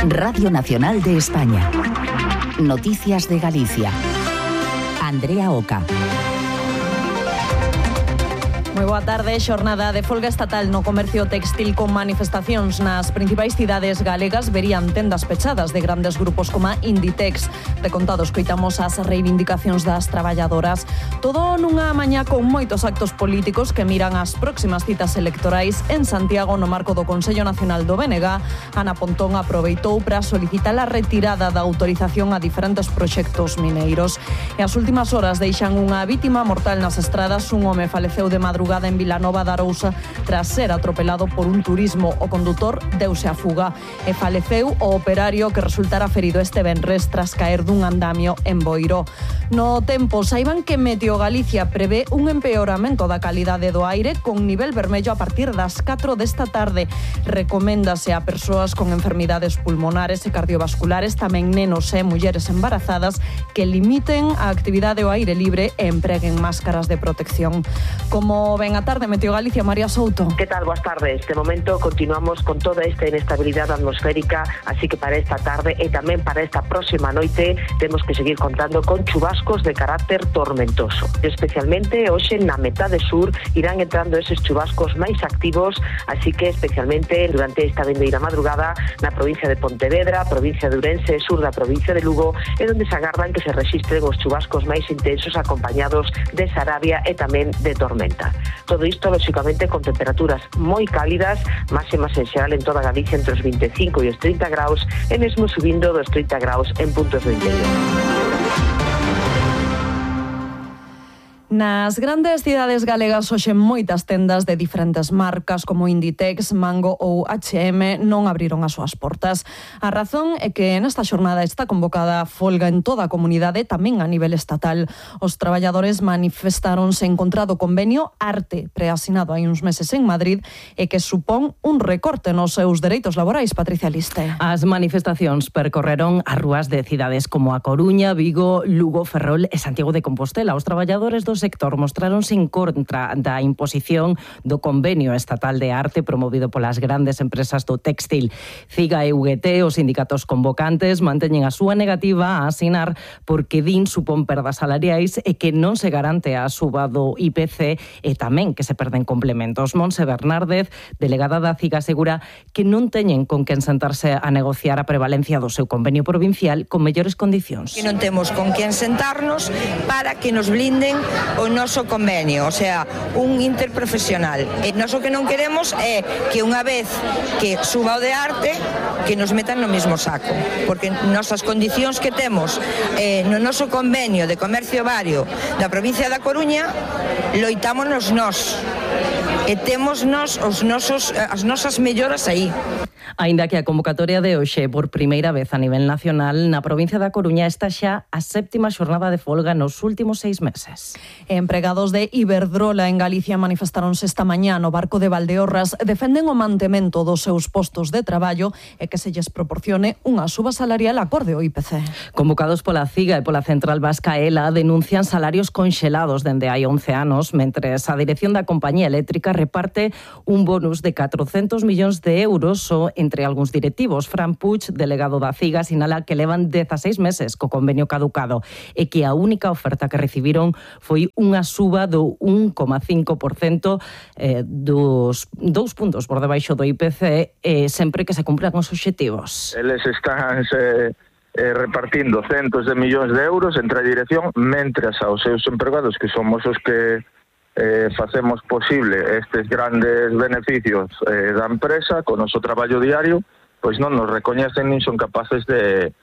Radio Nacional de España. Noticias de Galicia. Andrea Oca. Moi boa tarde, xornada de folga estatal no comercio textil con manifestacións nas principais cidades galegas. Verían tendas pechadas de grandes grupos como Inditex. De contado escoitamos as reivindicacións das traballadoras. Todo nunha mañá con moitos actos políticos que miran as próximas citas electorais en Santiago no marco do Consello Nacional do BNG. Ana Pontón aproveitou para solicitar a retirada da autorización a diferentes proxectos mineiros. E as últimas horas deixan unha vítima mortal nas estradas. Un home faleceu de madrugada en Vilanova da Arousa tras ser atropelado por un turismo. O condutor deuse a fuga e faleceu o operario que resultara ferido este venres tras caer dun andamio en Boiro. No tempo, saiban que Meteo Galicia prevé un empeoramento da calidade do aire con nivel vermello a partir das 4 desta tarde. Recoméndase a persoas con enfermidades pulmonares e cardiovasculares, tamén nenos e mulleres embarazadas, que limiten a actividade ao aire libre e empreguen máscaras de protección. Como ven a tarde, Meteo Galicia, María Souto. ¿Qué tal? Boas tardes. De momento continuamos con toda esta inestabilidade atmosférica, así que para esta tarde e tamén para esta próxima noite temos que seguir contando con chubascos de carácter tormentoso. Especialmente hoxe na metade sur irán entrando eses chubascos máis activos, así que especialmente durante esta vindeira madrugada na provincia de Pontevedra, provincia de Ourense, sur da provincia de Lugo, é onde se agardan que se rexistren os chubascos máis intensos acompañados de sarabia e tamén de tormenta. Todo isto, lógicamente, con temperaturas moi cálidas, máximas en xeral en toda Galicia entre os 25 e os 30 graus, e mesmo subindo dos 30 graus en puntos do interior. Nas grandes cidades galegas hoxe moitas tendas de diferentes marcas como Inditex, Mango ou H&M non abriron as súas portas. A razón é que nesta xornada está convocada folga en toda a comunidade, tamén a nivel estatal. Os traballadores manifestáronse en contra do convenio Arte, preasinado hai uns meses en Madrid, e que supón un recorte nos seus dereitos laborais. Patricia Liste. As manifestacións percorreron as rúas de cidades como A Coruña, Vigo, Lugo, Ferrol e Santiago de Compostela. Os traballadores do sector mostráronse en contra da imposición do convenio estatal de arte promovido polas grandes empresas do textil. CIGA e UGT, os sindicatos convocantes, manteñen a súa negativa a asinar porque din supón perdas salariais e que non se garante a suba do IPC e tamén que se perden complementos. Montse Bernárdez, delegada da CIGA, asegura que non teñen con quen sentarse a negociar a prevalencia do seu convenio provincial con mellores condicións. Que non temos con quen sentarnos para que nos blinden o noso convenio, o sea, un interprofesional. E nós o que non queremos é que unha vez que suba o de arte, que nos metan no mesmo saco, porque nosas condicións que temos no noso convenio de comercio vario da provincia da Coruña, loitámonos nós. E temos nós as nosas melloras aí. Aínda que a convocatoria de hoxe por primeira vez a nivel nacional, na provincia da Coruña está xa a 7ª xornada de folga nos últimos 6 meses. Empregados de Iberdrola en Galicia manifestaronse esta mañá no barco de Valdeorras, defenden o mantemento dos seus postos de traballo e que se lles proporcione unha suba salarial acorde ao IPC. Convocados pola CIGA e pola Central Vasca ELA, denuncian salarios conxelados dende hai 11 anos, mentres a dirección da compañía eléctrica reparte un bonus de 400 millóns de euros entre algúns directivos. Fran Puig, delegado da CIGA, sinala que levan 16 meses co convenio caducado e que a única oferta que recibiron foi unha suba do 1,5%, dos 2 puntos por debaixo do IPC, sempre que se cumplan os obxectivos. Eles están repartindo centos de millóns de euros entre a dirección, mentres aos seus empregados, que somos os que facemos posible estes grandes beneficios da empresa con o noso traballo diario, pois non nos recoñecen nin son capaces de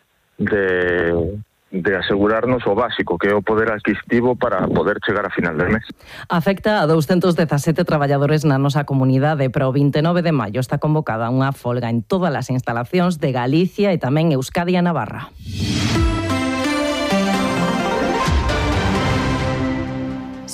asegurarnos o básico, que é o poder adquisitivo para poder chegar a final del mes. Afecta a 217 traballadores na nosa comunidade, pero o 29 de maio está convocada unha folga en todas as instalacións de Galicia e tamén Euskadi e Navarra.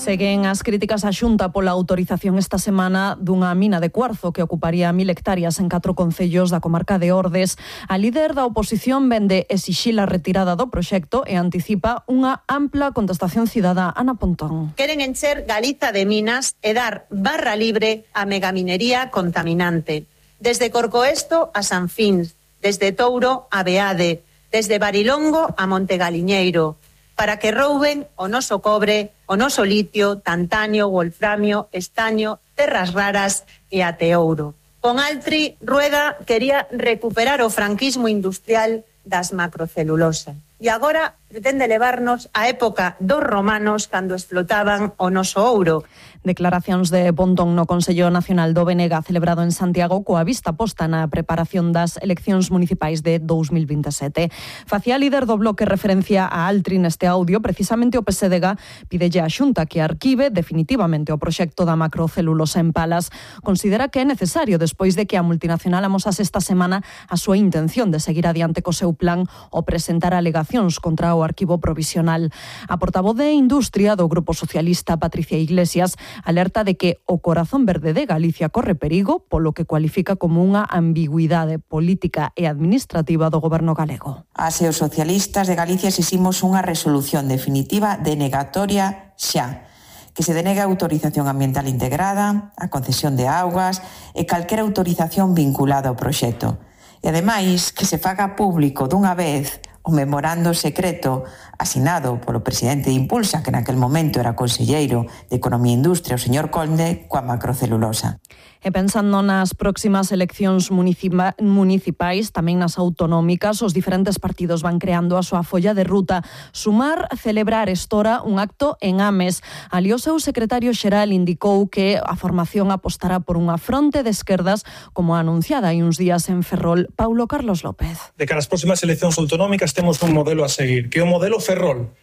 Seguen as críticas á Xunta pola autorización esta semana dunha mina de cuarzo que ocuparía 1000 hectáreas en 4 concellos da comarca de Ordes. A líder da oposición vende exixir a retirada do proxecto e anticipa unha ampla contestación cidadá. Ana Pontón. Queren encher Galiza de minas e dar barra libre á megaminería contaminante. Desde Corcoesto a San Fins, desde Touro a Beade, desde Barilongo a Montegaliñeiro, para que rouben o noso cobre, o noso litio, tantanio, wolframio, estaño, terras raras e até ouro. Con Altri, Rueda quería recuperar o franquismo industrial das macrocelulosas. E agora pretende levarnos á época dos romanos cando explotaban o noso ouro. Declaracións de Pontón no Consello Nacional do BNG celebrado en Santiago coa vista posta na preparación das eleccións municipais de 2027. Facía líder do bloque referencia a Altri neste audio, precisamente o PSDG pidelle á Xunta que arquive definitivamente o proxecto da macrocelulosa en Palas. Considera que é necesario, despois de que a multinacional amosase esta semana a súa intención de seguir adiante co seu plan o presentar alegacións contra o arquivo provisional. A portavoz de Industria do Grupo Socialista, Patricia Iglesias, alerta de que o corazón verde de Galicia corre perigo polo que cualifica como unha ambigüidade política e administrativa do goberno galego. As e os socialistas de Galicia exiximos unha resolución definitiva denegatoria xa, que se denegue a autorización ambiental integrada, a concesión de augas e calquera autorización vinculada ao proxecto. E ademais que se faga público dunha vez o memorando secreto asinado polo presidente de Impulsa, que naquel momento era conselleiro de Economía e Industria, o señor Conde, coa macrocelulosa. E pensando nas próximas eleccións municipais, tamén nas autonómicas, os diferentes partidos van creando a súa folla de ruta. Sumar celebrar estora un acto en Ames. Ali o seu secretario xeral indicou que a formación apostará por unha fronte de esquerdas como anunciada hai uns días en Ferrol. Paulo Carlos López. De cara ás próximas eleccións autonómicas temos un modelo a seguir, que é o modelo Ferrol.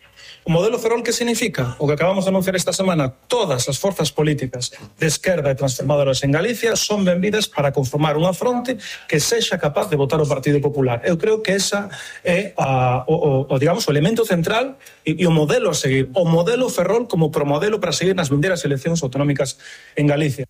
O modelo Ferrol, que significa? O que acabamos de anunciar esta semana, todas as forzas políticas de esquerda e transformadoras en Galicia son benvidas para conformar unha fronte que sexa capaz de votar o Partido Popular. Eu creo que esa é digamos, o elemento central e o modelo a seguir. O modelo Ferrol como promodelo para seguir nas vindeiras eleccións autonómicas en Galicia.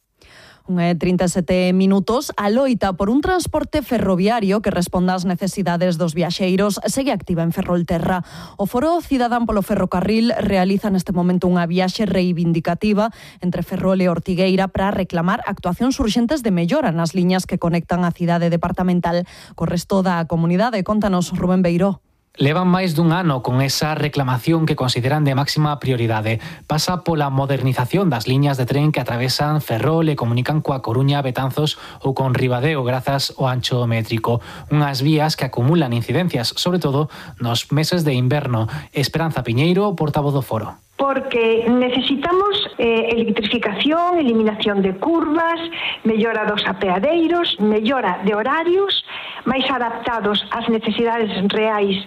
37 minutos. A loita por un transporte ferroviario que responda ás necesidades dos viaxeiros segue activa en Ferrolterra. O Foro Cidadán polo Ferrocarril realiza neste momento unha viaxe reivindicativa entre Ferrol e Ortigueira para reclamar actuacións urxentes de mellora nas liñas que conectan a cidade departamental co resto da comunidade. Contanos, Rubén Beiró. Levan máis dun ano con esa reclamación que consideran de máxima prioridade. Pasa pola modernización das liñas de tren que atravesan Ferrol e comunican coa Coruña, Betanzos ou con Ribadeo grazas ao ancho métrico. Unhas vías que acumulan incidencias, sobre todo nos meses de inverno. Esperanza Piñeiro, portavoz do Foro. Porque necesitamos electrificación, eliminación de curvas, mellora dos apeadeiros, mellora de horarios, máis adaptados ás necesidades reais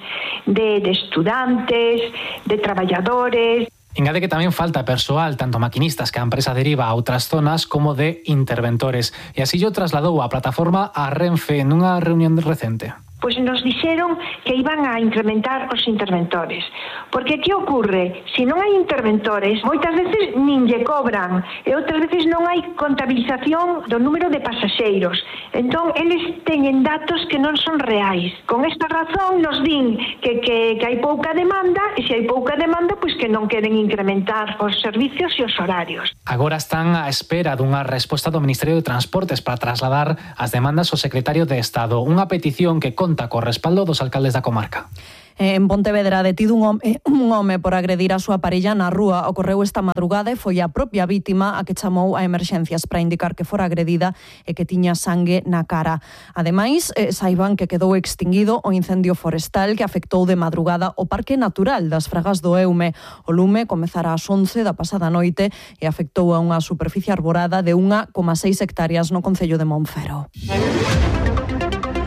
de estudantes, de traballadores. Engade que tamén falta persoal, tanto maquinistas que a empresa deriva a outras zonas como de interventores. E así o trasladou a plataforma a Renfe nunha reunión recente. Pois nos dixeron que iban a incrementar os interventores. Porque que ocorre? Se non hai interventores, moitas veces nin lle cobran e outras veces non hai contabilización do número de pasaxeiros. Entón, eles teñen datos que non son reais. Con esta razón nos din que hai pouca demanda e se hai pouca demanda, pois que non queren incrementar os servicios e os horarios. Agora están á espera dunha resposta do Ministerio de Transportes para trasladar as demandas ao secretario de Estado. Unha petición que conta co respaldo dos alcaldes da comarca. En Pontevedra, detido un home por agredir a súa parella na rúa. Ocorreu esta madrugada e foi a propia vítima a que chamou a emerxencias para indicar que fora agredida e que tiña sangue na cara. Ademais, saiban que quedou extinguido o incendio forestal que afectou de madrugada o Parque Natural das Fragas do Eume. O lume comezara ás 11 da pasada noite e afectou a unha superficie arborada de 1,6 hectáreas no concello de Monfero.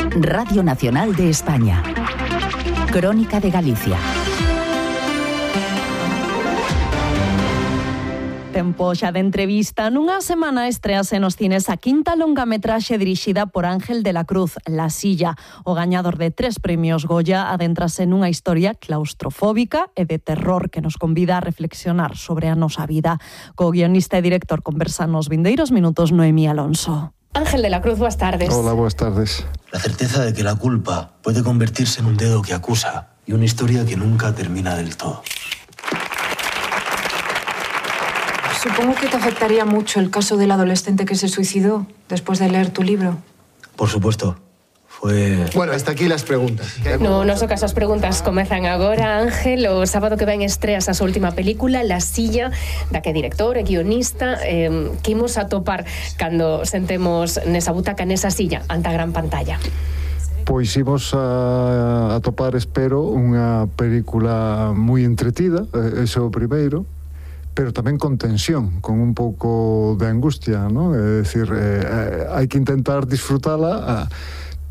Radio Nacional de España. Crónica de Galicia. Tempo xa de entrevista. Nunha semana estrease nos cines a quinta longametraxe dirixida por Ángel de la Cruz, La Silla. O gañador de 3 premios Goya adentrase nunha historia claustrofóbica e de terror que nos convida a reflexionar sobre a nosa vida. Co guionista e director conversan nos vindeiros minutos Noemí Alonso. Ángel de la Cruz, buenas tardes. Hola, buenas tardes. La certeza de que la culpa puede convertirse en un dedo que acusa y una historia que nunca termina del todo. Supongo que te afectaría mucho el caso del adolescente que se suicidó después de leer tu libro. Por supuesto. Fue... Bueno, hasta aquí las preguntas. No noso caso as preguntas comezan agora. Ángel, o sábado que ven estreas a súa última película, La Silla, da que é director e guionista. Que imos a topar cando sentemos nesa butaca, nesa silla, ante a gran pantalla? Pois imos a topar, espero, unha película moi entretida, ese é o primeiro, pero tamén con tensión, con un pouco de angustia, ¿no? É dicir, hai que intentar disfrutala,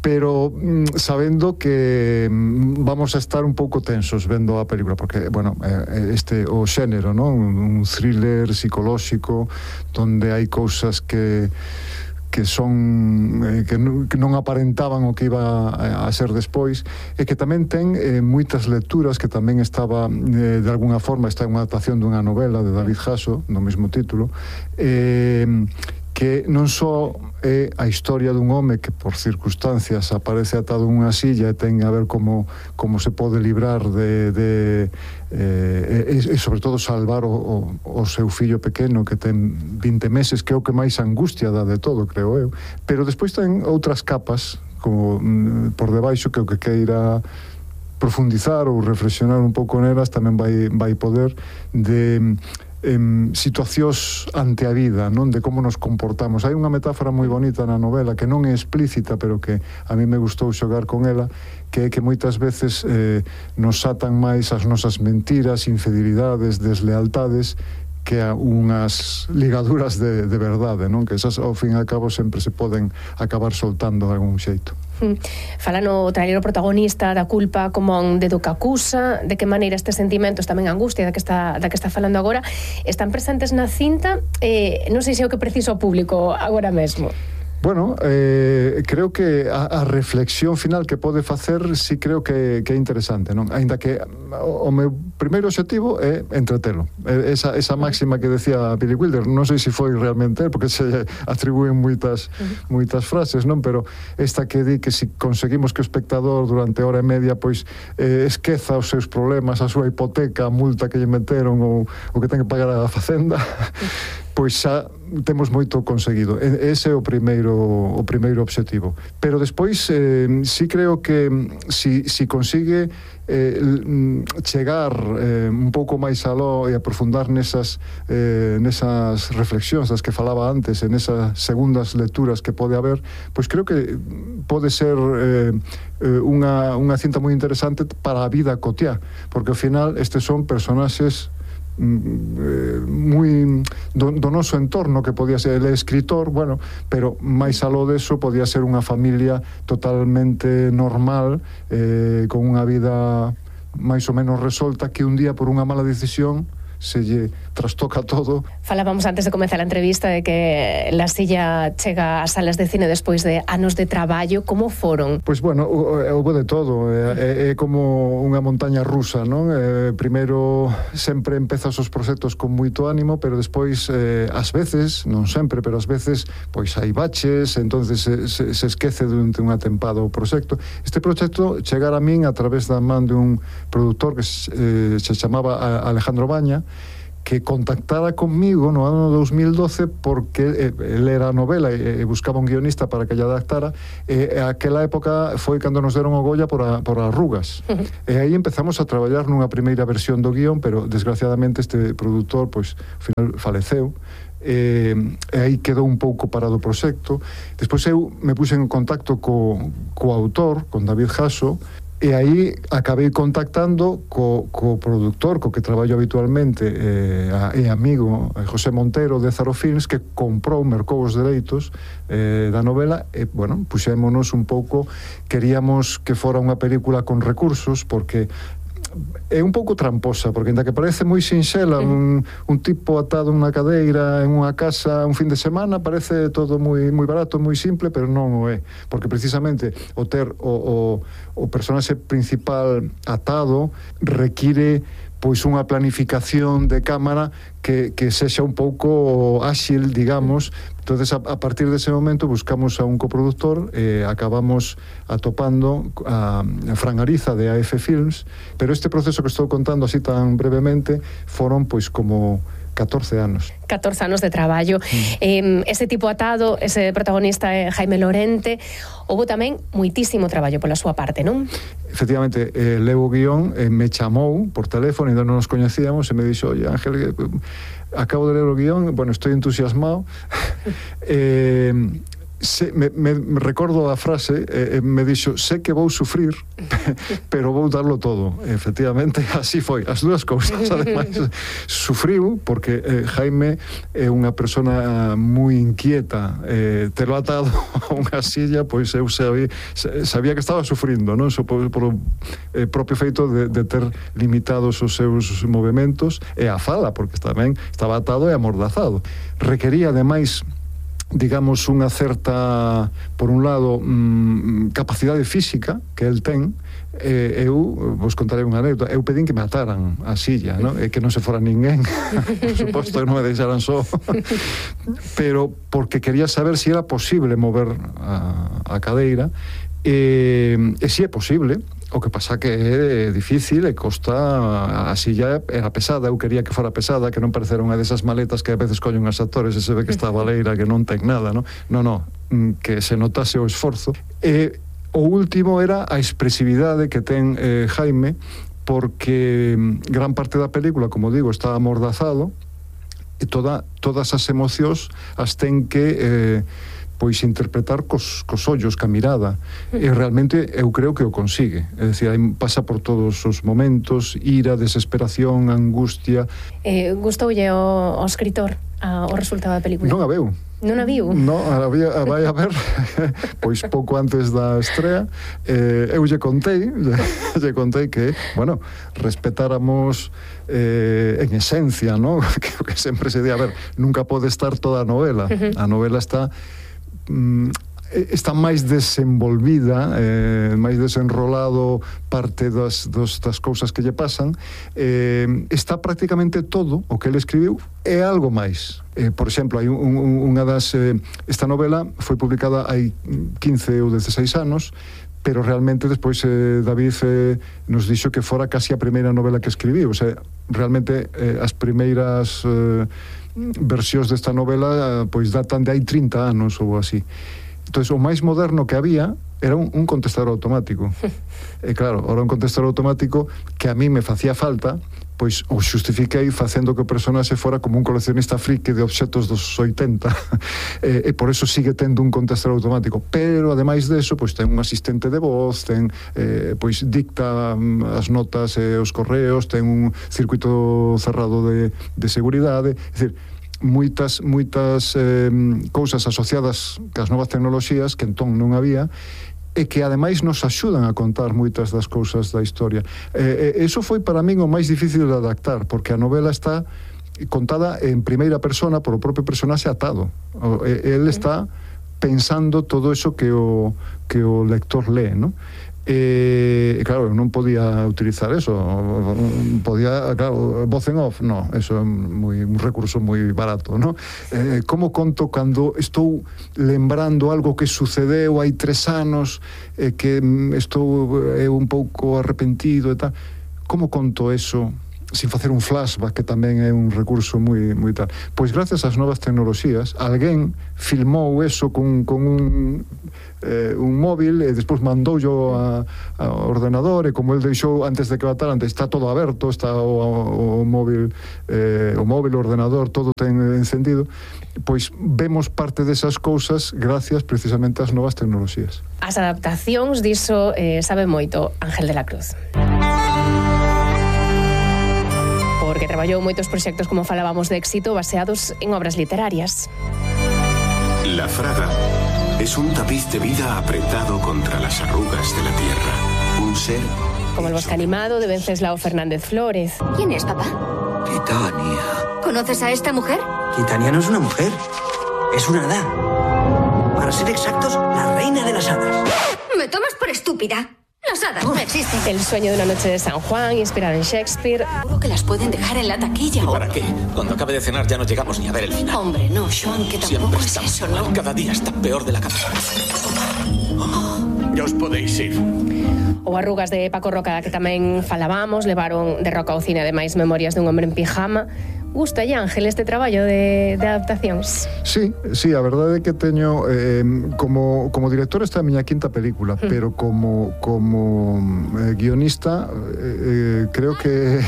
pero sabendo que vamos a estar un pouco tensos vendo a película, porque, bueno, o xénero, ¿no? Un thriller psicolóxico donde hai cousas que son que non aparentaban o que iba a ser despois, e que tamén ten moitas lecturas, que tamén estaba de alguna forma, está en unha adaptación dunha novela de David Hasso do mesmo título, que non só é a historia dun home que por circunstancias aparece atado en unha silla e ten a ver como se pode librar e sobre todo salvar o seu fillo pequeno que ten 20 meses, que é o que máis angustia dá de todo, creo eu. Pero despois ten outras capas como por debaixo, que o que queira profundizar ou reflexionar un pouco nelas tamén vai poder, de situacións ante a vida, non, de como nos comportamos. Hai unha metáfora moi bonita na novela que non é explícita, pero que a mí me gustou xogar con ela, que é que moitas veces nos atan máis as nosas mentiras, infidelidades, deslealtades, que a unhas ligaduras de verdade, non? Que esas, ao fin e ao cabo, sempre se poden acabar soltando de algún xeito. Fala no trailer o protagonista da culpa como un dedo que acusa, de que maneira estes sentimentos, tamén a angustia da que está falando agora, están presentes na cinta. Non sei se é o que preciso o público agora mesmo. Bueno, creo que a reflexión final que pode facer sí creo que é interesante, non? Ainda que o meu primeiro obxectivo é entretelo. Esa máxima que decía Billy Wilder, non sei se foi realmente porque se atribúen moitas frases, non? Pero esta que di que se conseguimos que o espectador durante hora e media pois esqueza os seus problemas, a súa hipoteca, a multa que lle meteron ou o que ten que pagar a facenda, pois xa temos moito conseguido. Ese é o primeiro obxectivo. Pero despois sí creo que si consigue chegar un pouco máis aló e aprofundar nesas reflexións das que falaba antes, en esas segundas lecturas que pode haber, pois creo que pode ser unha cinta moi interesante para a vida cotiá, porque ao final estes son personaxes moi do noso entorno, que podía ser el escritor, bueno, pero máis aló deso podía ser unha familia totalmente normal, con unha vida máis ou menos resolta, que un día por unha mala decisión se lle trastoca todo. Falábamos antes de comenzar a entrevista de que La Silla chega ás salas de cine despois de anos de traballo. Como foron? Pois bueno, houve de todo. É como unha montaña rusa, non? Primeiro sempre empezas os proxectos con moito ánimo, pero despois ás veces, non sempre, pero ás veces pois hai baches, entonces se esquece durante unha tempada o proxecto. Este proxecto chegara a min a través da man de un produtor que se chamaba Alejandro Baña, que contactara conmigo no ano 2012 porque ele era a novela e buscaba un guionista para que lle adaptara, e aquela época foi cando nos deron o Goya por Arrugas. E aí empezamos a traballar nunha primeira versión do guión, pero desgraciadamente este produtor pois ao final faleceu. E aí quedou un pouco parado o proxecto. Despois eu me puse en contacto co autor, con David Hasso, e aí acabei contactando co produtor co que traballo habitualmente e amigo José Montero de Zaro Films, que mercou os dereitos da novela, e, bueno, puxémonos un pouco, queríamos que fora unha película con recursos, porque é un pouco tramposa, porque ainda que parece moi sinxela, un tipo atado nunha cadeira en unha casa un fin de semana, parece todo moi barato, moi simple, pero non o é, porque precisamente o ter o personaxe principal atado require pois unha planificación de cámara que sexa un pouco áxil, digamos. Entonces, a partir dese momento buscamos a un coproductor e acabamos atopando a Fran Ariza de AF Films, pero este proceso que estou contando así tan brevemente foron pois como 14 anos. 14 anos de traballo. Ese tipo atado, ese protagonista é Jaime Lorente. Houve tamén moitísimo traballo pola súa parte, non? Efectivamente, leo o guión, me chamou por teléfono, ainda non nos coñecíamos, e me dixo, oye, Ángel, acabo de ler o guión, bueno, estoy entusiasmado. Me recordo a frase, me dixo, sé que vou sufrir, pero vou darlo todo. Efectivamente, así foi, as dúas cousas. Ademais, sufriu porque Jaime é unha persona moi inquieta, telo atado a unha silla, pois eu sabía que estaba sufrindo, non? Por o propio feito de ter limitados os seus movimentos e a fala, porque tamén estaba atado e amordazado. Requería, ademais, digamos, unha certa, por un lado, capacidade física que el ten. Eu vos contarei unha anécdota. Eu pedín que me ataran a silla, non? E que non se fora ninguén, por suposto que non me deixaran só, pero porque quería saber se era posible mover a cadeira, e se é posible. O que pasa que é difícil e costa, a silla era pesada, eu quería que fora pesada, que non parecera unha desas maletas que a veces collen os actores e se ve que está a baleira, que non ten nada, non? Non, que se notase o esforzo. E o último era a expresividade que ten Jaime, porque gran parte da película, como digo, está amordazado, e todas as emocións as ten que pois interpretar cos ollos, ca mirada, e realmente eu creo que o consigue, é dicir, pasa por todos os momentos, ira, desesperación, angustia. Gustoulle o escritor o resultado da película? Non a veu. Non a viu? Non, vai a ver pois pouco antes da estrea. Eu lle contei que, bueno, respetáramos en esencia, ¿no? que sempre se di, a ver, nunca pode estar toda a novela. A novela está máis desenvolvida, máis desenrolado parte das cousas que lle pasan. Está prácticamente todo o que ele escribiu e algo máis. Por exemplo, hai unha das... esta novela foi publicada hai 15 ou 16 anos, pero realmente despois David nos dixo que fora casi a primeira novela que escribiu. O sea, realmente as primeiras versións desta novela pois datan de hai 30 anos ou así. Entón, o máis moderno que había era un contestador automático. E claro, ahora un contestador automático que a mí me facía falta, pois o xustifiquei facendo que o personaxe fora como un coleccionista friki de obxetos dos 80, e por eso sigue tendo un contestador automático. Pero, ademais deso, pois ten un asistente de voz, ten, pois dicta as notas e os correos, ten un circuito cerrado de seguridade, é dicir, moitas cousas asociadas cas novas tecnoloxías que entón non había, e que ademais nos axudan a contar moitas das cousas da historia. Eso foi para min o máis difícil de adaptar, porque a novela está contada en primeira persona por o propio personaxe atado. El está pensando todo eso que o lector lee, non? Claro, non podía utilizar eso, podía, claro, voz en off, no, eso é un recurso moi barato, no? Como conto cando estou lembrando algo que sucedeu hai 3 anos, que estou un pouco arrepentido e tal, como conto eso sin facer un flashback, que tamén é un recurso moi tal? Pois gracias ás novas tecnoloxías, alguén filmou eso con un móvil e despois mandoullo ao ordenador, e como el deixou antes de que bataran, está todo aberto, está o móvil, o ordenador, todo ten encendido, pois vemos parte desas cousas gracias precisamente ás novas tecnoloxías. As adaptacións diso sabe moito Ángel de la Cruz, porque traballou moitos proxectos, como falábamos, de éxito baseados en obras literarias. La Fraga es un tapiz de vida apretado contra las arrugas de la tierra. Un ser... Como El bosque animado, de Wenceslao Fernández Flórez. ¿Quién es, papá? Titania. ¿Conoces a esta mujer? Titania no es una mujer, es una hada. Para ser exactos, la reina de las hadas. ¿Me tomas por estúpida? Las hadas no existen. El sueño de una noche de San Juan, inspirado en Shakespeare. Seguro que las pueden dejar en la taquilla. ¿Y para qué? Cuando acabe de cenar ya no llegamos ni a ver el final. Hombre, no, Joan, que tampoco es eso, ¿no? Cada día está peor de la cabeza. Ya os podéis ir. Ou Arrugas de Paco Roca, que tamén falábamos, levaron de Roca ao cine, ademais, Memorias dun hombre en pijama. Gusta, Ángel, este traballo de adaptacións? Sí, a verdade é que teño como director esta é a miña quinta película, pero como guionista creo que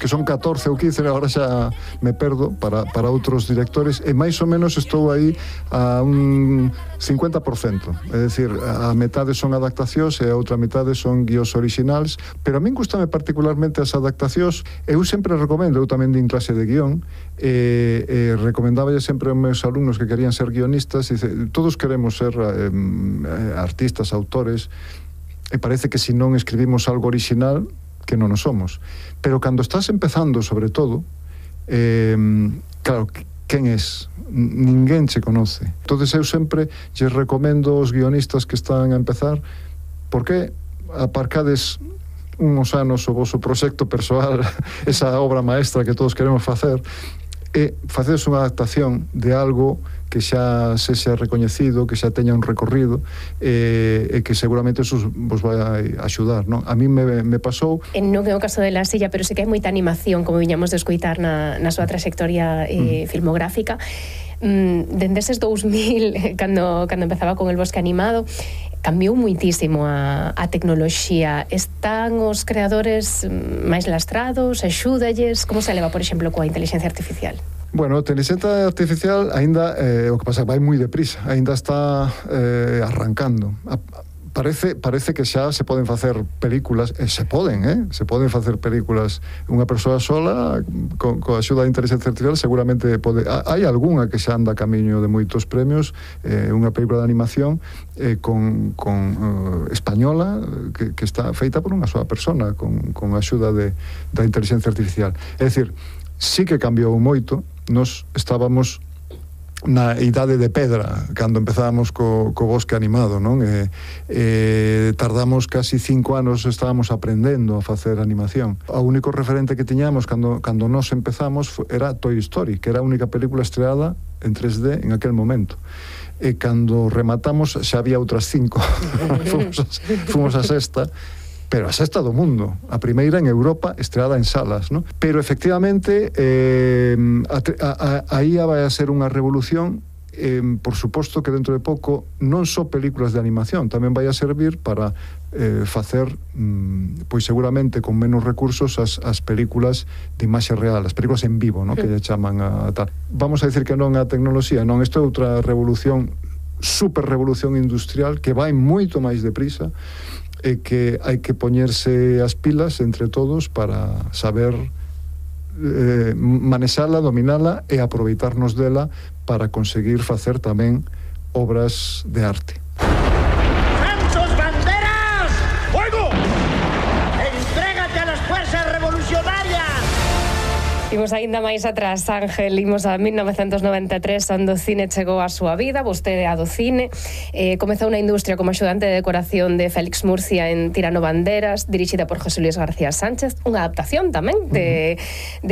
son 14 ou 15, agora xa me perdo para outros directores, e máis ou menos estou aí a un 50%, é dicir, a metade son adaptacións e a outra metade son guións originais, pero a min gustame particularmente as adaptacións. Eu sempre recomendo, eu tamén din clase de guión, recomendáballe sempre aos meus alumnos que querían ser guionistas, dice, todos queremos ser artistas, autores, e parece que se non escribimos algo original, que non o somos. Pero cando estás empezando, sobre todo, claro, quen és? Ninguén che conoce. Entonces eu sempre lles recomendo aos guionistas que están a empezar, porque aparcades uns anos o vosso proxecto persoal, esa obra maestra que todos queremos facer, e facedes unha adaptación de algo que xa sexa recoñecido, que xa teña un recorrido, e que seguramente eso vos vai axudar, non? A mí me pasou... Non é o caso de La Silla, pero sí que hai moita animación, como viñamos de escoitar na súa trayectoria filmográfica. Dende eses 2000, cando empezaba con El Bosque Animado, cambiou muitísimo a tecnoloxía. Están os creadores máis lastrados? Axúdalles? Como se leva, por exemplo, coa inteligencia artificial? Bueno, a inteligencia artificial aínda, o que pasa, vai moi deprisa, aínda está arrancando. Parece que xa se poden facer películas, se poden facer películas. Unha persoa sola, coa axuda da inteligencia artificial, seguramente pode. Hai algunha que xa anda a camiño de moitos premios, unha película de animación con española, que está feita por unha soa persona, con a axuda da inteligencia artificial. É dicir, sí que cambiou moito. Nos estábamos na idade de pedra cando empezábamos co Bosque Animado, non? Tardamos casi 5 anos, estábamos aprendendo a facer animación. O único referente que tiñamos cando nos empezamos era Toy Story, que era a única película estreada en 3D en aquel momento. E cando rematamos xa había outras 5. Fomos a sexta, pero a sexta do mundo, a primeira en Europa estreada en salas, ¿no? Pero efectivamente aí vai a ser unha revolución, por suposto que dentro de pouco non só películas de animación, tamén vai a servir para facer, pois seguramente con menos recursos as películas de imaxe real, as películas en vivo, ¿no? Que lle chaman a tal. Vamos a decir que non a tecnoloxía, non, isto é outra revolución, super revolución industrial que vai moito máis deprisa, e que hai que poñerse as pilas entre todos para saber manexala, dominala e aproveitarnos dela para conseguir facer tamén obras de arte. ¡Santos banderas! ¡Fuego! ¡Entrégate a las fuerzas revolucionarias! Imos aínda máis atrás, Ángel, imos a 1993, onde o cine chegou á súa vida, vostede a do cine, comezou na industria como axudante de decoración de Félix Murcia en Tirano Banderas, dirixida por José Luis García Sánchez, unha adaptación tamén de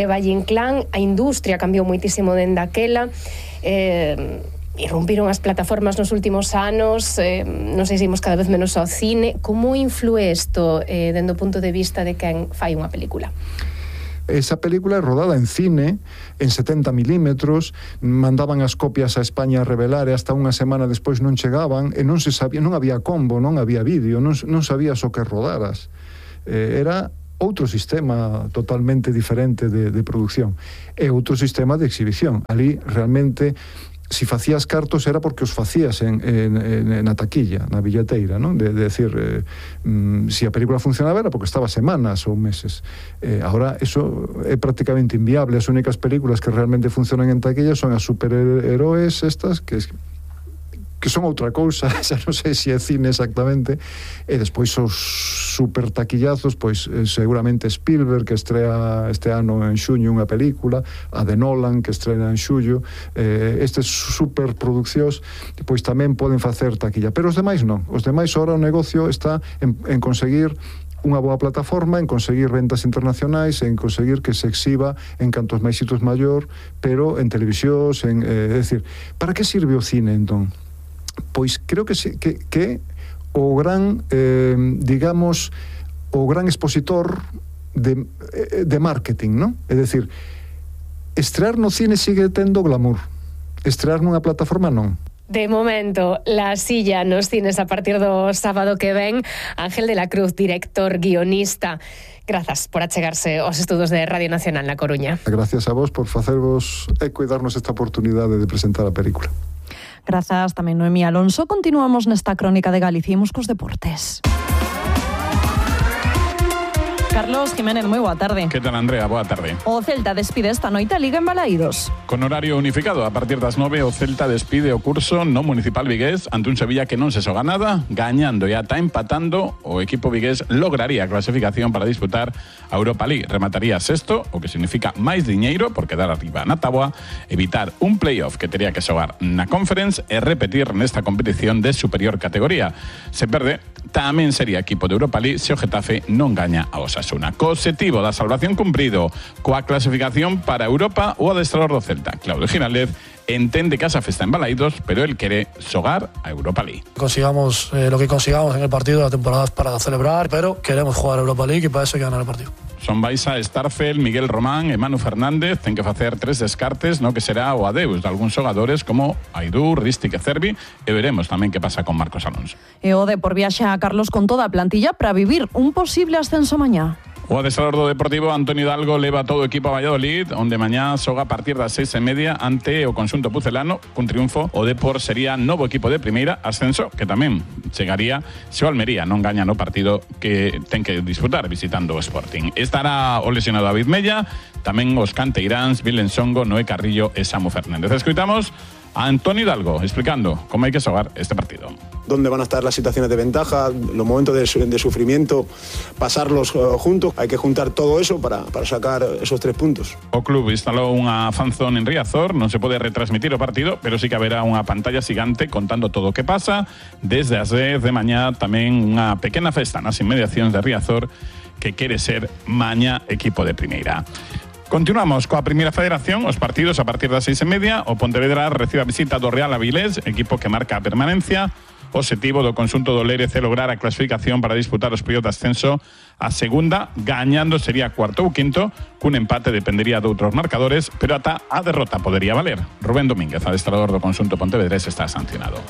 Valle Inclán. A industria cambiou moitísimo dende aquela, irrumpiron as plataformas nos últimos anos, non sei se imos cada vez menos ao cine. Como influe isto dende o punto de vista de quen fai unha película? Esa película é rodada en cine, en 70 milímetros, mandaban as copias a España a revelar e hasta unha semana despois non chegaban, e non se sabía, non había combo, non había vídeo, non sabías o que rodaras. Era outro sistema totalmente diferente de producción e outro sistema de exhibición. Ali realmente, si facías cartos era porque os facías na taquilla, na billeteira, non? De decir, si a película funcionaba era porque estaba semanas ou meses. Ahora eso é prácticamente inviable. As únicas películas que realmente funcionan en taquilla son as superheroes estas, que son outra cousa, xa non sei se é cine exactamente, e despois os super taquillazos, pois seguramente Spielberg, que estrea este ano en xuño unha película, a de Nolan, que estrena en xullo, estes superproduccións, pois tamén poden facer taquilla, pero os demais non. Os demais, ahora o negocio está en conseguir unha boa plataforma, en conseguir ventas internacionais, en conseguir que se exhiba en cantos máis sitios maior, pero en televisións, é dicir, para que sirve o cine, entón? Pois creo que o gran, digamos, o gran expositor de marketing, non? É dicir, Estrear no cine sigue tendo glamour. Estrear nunha plataforma non. De momento, La Silla nos cines a partir do sábado que ven. Ángel de la Cruz, director, guionista. Grazas por achegarse aos estudos de Radio Nacional na Coruña. Gracias a vos por facervos eco e darnos esta oportunidade de presentar a película. Grazas tamén Noemí Alonso. Continuamos nesta crónica de Galicia e imos cos deportes. Carlos Jiménez, moi boa tarde. Que tal, Andrea? Boa tarde. O Celta despide esta noite a Liga en Balaídos. Con horario unificado, a partir das 9 o Celta despide o curso no municipal vigués ante un Sevilla que non se xoga nada, gañando e ata empatando, o equipo vigués lograría a clasificación para disputar a Europa League. Remataría sexto, o que significa máis diñeiro por quedar arriba na táboa, evitar un playoff que tería que xogar na Conference e repetir nesta competición de superior categoría. Se perde, tamén sería equipo de Europa League se o Getafe non gaña a Osasuna. Cosetivo da salvación cumprido coa clasificación para Europa o adestrador do Celta, Claudio Giraldez, entende que esa festa en Balaídos, pero él quere xogar a Europa League. Consigamos lo que consigamos en el partido de la temporada para celebrar, pero queremos jugar a Europa League y para eso hay que ganar el partido. Son Baiza, Starfel, Miguel Román e Manu Fernández ten que facer 3 descartes, no que será o adeus de algúns xogadores como Aidú, Ristic e Cervi, e veremos tamén que pasa con Marcos Alonso. E o Depor viaxa a Carlos con toda a plantilla para vivir un posible ascenso mañá. O adestrador do Deportivo, Antonio Hidalgo, leva todo o equipo a Valladolid, onde mañá xoga a partir das 6:30 ante o conxunto pucelano. Cun triunfo, o Depor sería novo equipo de primeira, ascenso que tamén chegaría se o Almería non gaña no partido que ten que disputar visitando o Sporting. Estará o lesionado David Mella, tamén os canteiráns Vilen Songo, Noé Carrillo e Samu Fernández. Escoitamos a Antonio Hidalgo explicando cómo hay que xogar este partido. Dónde van a estar las situaciones de ventaja, los momentos de sufrimiento, pasarlos juntos. Hay que juntar todo eso para sacar esos 3 puntos. O club instalou unha fanzone en Riazor, non se pode retransmitir o partido, pero sí que haberá unha pantalla xigante contando todo o que pasa. Desde as 10 de mañá tamén unha pequena festa nas inmediacións de Riazor que quere ser mañá equipo de primeira. Continuamos coa Primeira Federación, os partidos a partir das 6:30. O Pontevedra recibe a visita do Real Avilés, equipo que marca a permanencia. O objetivo do conxunto do Lérez é lograr a clasificación para disputar os playoffs de ascenso a segunda, gañando sería cuarto ou quinto, cun empate dependería de outros marcadores, pero ata a derrota podería valer. Rubén Domínguez, adestrador do conxunto pontevedrés, está sancionado.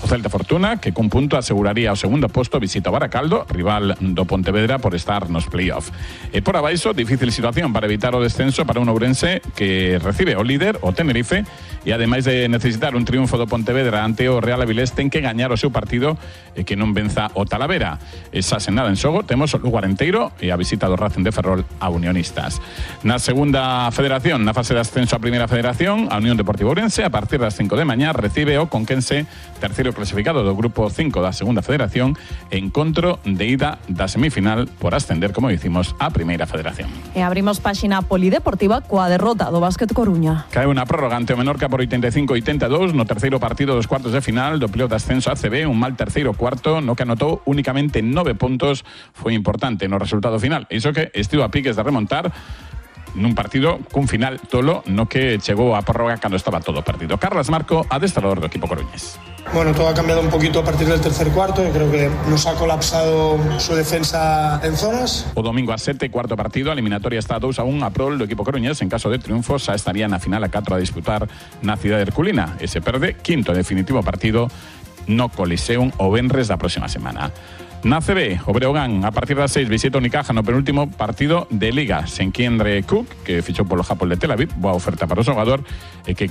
O Celta Fortuna, que cun punto aseguraría o segundo posto, visita o Baracaldo, rival do Pontevedra por estar nos playoff. E por abaixo, difícil situación para evitar o descenso para un ourense que recibe o líder, o Tenerife, e ademais de necesitar un triunfo do Pontevedra ante o Real Avilés, ten que gañar o seu partido e que non venza o Talavera. Esa senada en xogo temos o Lugo Arenteiro e a visita do Racing de Ferrol a Unionistas. Na segunda federación, na fase de ascenso a Primeira Federación, a Unión Deportiva Ourense, a partir das 5 de mañá, recibe o Conquense, terceiro clasificado do grupo 5 da segunda federación, encontro de ida da semifinal por ascender, como dicimos, a Primeira Federación. E abrimos páxina polideportiva coa derrota do Básquet Coruña. Cae unha prórroga ante o Menorca por 85-82 no terceiro partido dos cuartos de final do playoff de ascenso a ACB, un mal terceiro cuarto no que anotou únicamente 9 puntos, foi importante no resultado final. Iso que estivo a piques de remontar nun partido cun final tolo no que chegou a prórroga cando estaba todo perdido. Carlos Marco, adestrador do equipo coruñés. Bueno, todo ha cambiado un poquito a partir del tercer cuarto. Yo creo que nos ha colapsado su defensa en zonas. O domingo a 7, cuarto partido, a eliminatoria está 2-1 a prol do equipo coruñés. En caso de triunfo, xa estaría na final a 4 a disputar na cidade herculina. E se perde, quinto e definitivo partido no Coliseum o venres da próxima semana. Na CB, o Breogán, a partir das 6, visita o Unicaja no penúltimo partido de Liga. Se enquiendre Cook, que fichou polo Japón de Tel Aviv, boa oferta para o xogador, e que